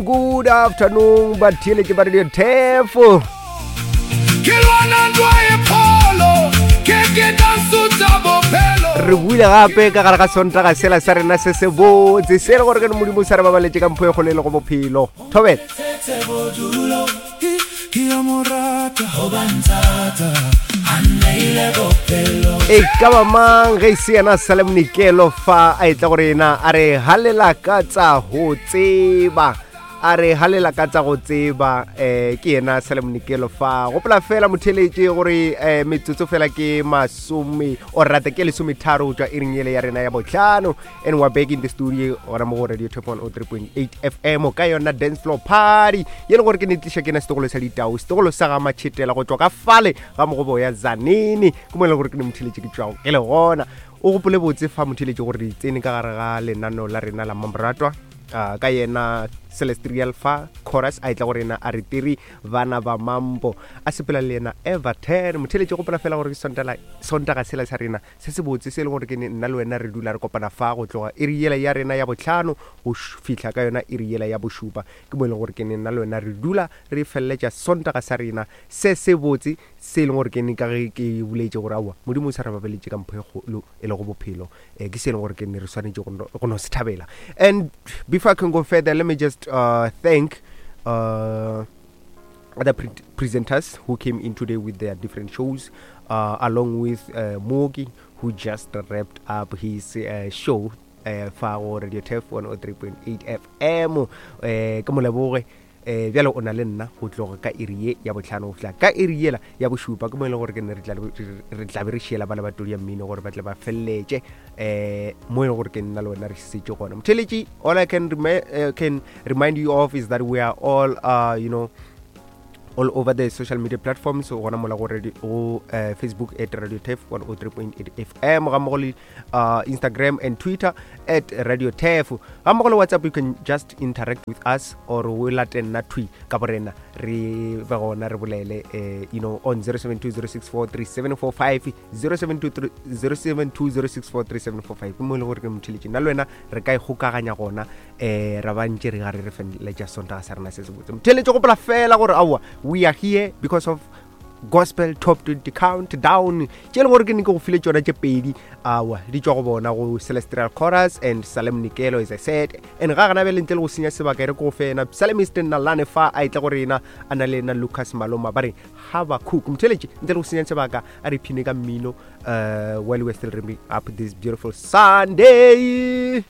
afternoon, good afternoon, batheeletši ba Radio Tefo. Ke lwana ntwa e pholo, ke ke danso tsa bophelo. Re buile gape ka gare ga Sontaga sela sa rena se se botse se le gore ke Modimo sa re babaletše ka mpho e kgolo e le go bophelo. Thobela. E ka ba mang ge e se yena Salem Nikelo fa a etla go rena a re halela ka tsa go tseba a re halela ka tsa go tseba um ke yena Salem Nikelo fa gopola fela motheletše gore um metsotso fela ke masome o rata ke lesometharo go tšwa iring ele ya rena ya botlhano. And we're back in the studio gona mo go Radio Top 103.8 FM ka yona dance floor party ye le gore ke ne tliša ke na setogolo sa ditau, setogolo sa ga Matšhetela go tšwa ka fale ga mogobo ya Zanini, ke mo e le gore ke ne motheletše ke tšwago ke le gona. O gopole botse fa motheletše gore di tsene ka gare ga lenaneo la rena la Mamratwa ka yena Celestial fa chorus a etla go rena a re tiri bana ba mambo a sepela le yena Everton. Motheletše gopola fela gore ke Sontaga sela sa rena se se botse se e leng gore ke nna le wena re dula re kopana fa go tloga iri yela ya rena ya bohlano go fihla ka yona iri yela ya bošupa. Ke mo e leng gore ke nna le wena re dula re feleletša Sontaga sa rena se se botse se e leng gore ke ka ge ke boletše gore aowa Modimo o sa re babaletše ka mpho e kgolo e lego bophelo. Ke se e leng gore ke ne re swanetše go no se thabela. And before I can go further, let me just thank other presenters who came in today with their different shows, along with Mooki, who just wrapped up his show fa go Radio Turf 103.8 FM. Ke mo leboge. Bjale o na le nna go tloga ka iri ye ya bohlano go fihla ka iri yela ya bošupa, ke mo e leng gore ke ne re tla be re šiela bana ba todi ya mmino gore ba tle ba feleletše mo e leng gore ke nna le wena re šetše gona. Motheletši, all I can remind you of is that we are all all over the social media platforms. Gona mola go radio, go Facebook at Radio Turf 103.8 FM, ga mmogo le Instagram and Twitter at Radio Turf, ga mmogo le WhatsApp. You can just interact with us or o late nna thwi ka borena re be gona re bolele on 0720643745, 0720643745. Ke mo e leng gore ke motheletši nna le wena re ka ikgokaganya gona, ra ba ntše re gare re feleletša Sontaga sa rena se se botse. Motheletši, gopola fela gore aowa we are here because of Gospel Top 20 Countdown tše e leng gore ke ne ke go file tšona tše pedi, awa di tšwa go bona go Celestial Chorus and Salem Nikelo, as I said. And ga gana bjale ntle le go senya sebaka e re ke go fe yena Psalmist Nalane fa a etla go rena a na le yena Lucas Maloma ba re Habakuk. Motheletši, ntle le go senya sebaka a re phine ka mmino while we're still wrapping up this beautiful Sunday.